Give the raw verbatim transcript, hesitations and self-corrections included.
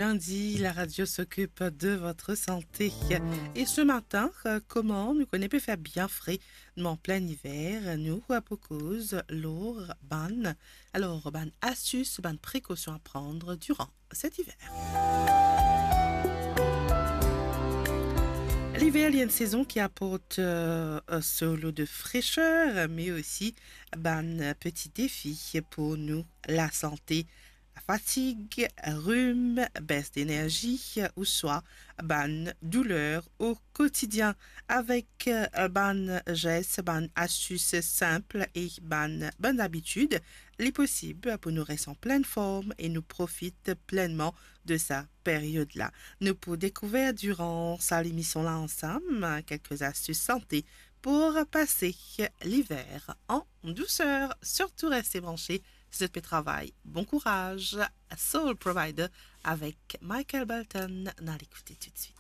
Lundi, la radio s'occupe de votre santé. E se matin, euh, kouma nou kone pe fer bien fre, nou an plin iver, nou, euh, pou koz lor bann, alor, bann astis, bann prekosion a pran diran set iver. Liver, li enn sezon ki aport, euh, so lo de freser, me osi bann peti defi pou nou lasante. Lafatig, rim, bes denerzi, ouswa bann douler o kotidien. Avek, euh, bann zes, bann astis sinp e bann bonn abitid, li posib pou nou res an plin form e nou profit plenman de sa period la. Nou pou dekouver diran sa lemision la ansam kelke astis sante pou pase liver an douser. Sirtou reste branche si zot pe travay. Bon kouraz, Soul Provider avek Michael Bolton, nou al ekoute toutswit.